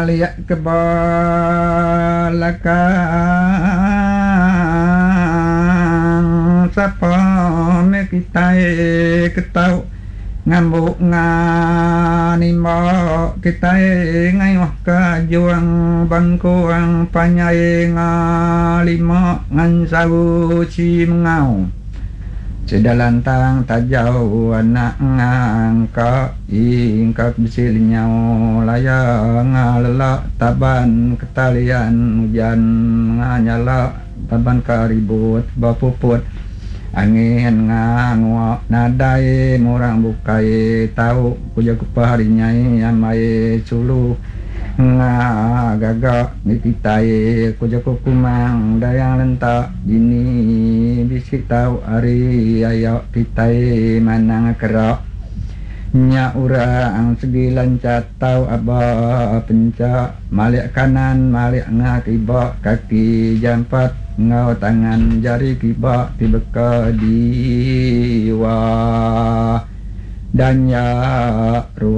Malik ke belakang sapa meh kitai ke tau ngambu nganimba kitai ngayuh ke juang bangkung panjai ngalima ngansau si mengau. Sida lantang tajau anak ngangka ingka bisi lenyau laya ngalelak taban ketalian ujan nganyala taban ka ribut bepuput angin ngangua nadai murang bukai tau ku jaku pehari nyai ambai sulu. Gaga mih kitai, ku jaku Kumang Dayang Lentak, dini bisi tau ari aya kitai manang kerak. Nya orang segi lanchat tau aba pencha malik kanan malik nga kiba kaki jampat enggau tangan jari kiba ti beka diwa. Dan nya.